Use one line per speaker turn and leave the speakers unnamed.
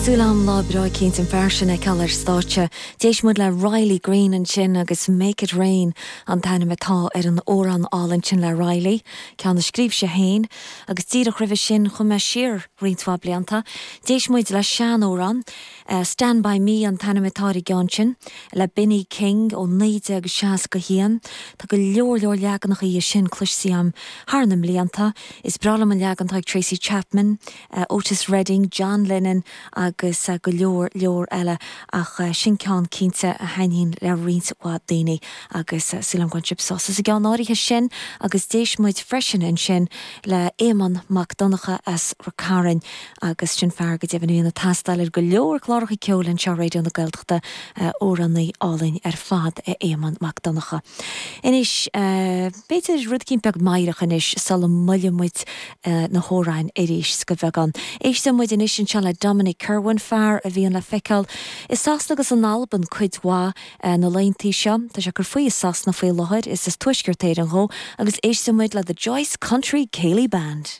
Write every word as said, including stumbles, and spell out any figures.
Súil agam lá breá éicint an fear sin a fheiceáil ar stáitse. D'éist muid le Riley Green ansin agus Make It Rain an t-ainm atá ar an amhrán álainn sin le Riley, ceann a scríobh sé féin, agus díreach roimhe sin chuaigh mé siar roinnt mhaith blianta. D'éist muid le seanamhrán, uh, Stand By Me an t-ainm atá ar an gceann sin le Benny King ó naoi déag seasca haon, Tá go leor leor leaganacha dhe sin cloiste agam thar na mblianta, is breá liom an leagan atá ag Tracy Chapman, uh, Otis Redding, John Lennon agus uh, go leor leor eile ach uh, sin ceann cinnte a thaitníonn le roinnt mhaith daoine agus uh, sílim go sibh sásta sa gceann áirithe sin agus d'éist muid freisin ansin le Éamonn Mac Donncha as Ráth Cairn agus sin fear go deimhin a bhíonn ag taisteal ar go leor cláracha ceoil anseo Raidió na Gaeltachta amhránaí álainn ar fad é Éamonn Mac Donncha. Anois b'fhéidir rud éicint beag meidhreach anois sula mbuaileann muid na hamhráin arís go beagán. Éisteann muid anois anseo le Dominic Kirwan fear a bhíonn le feiceáil i Sasana agus in Albain cuid mhaith na laethanta seo, Tá sé ag cur faoi i Sasana faoi láthair is as Tuaisceart Éireann dó agus éisteann muid le the Joyce Country Céilí Band.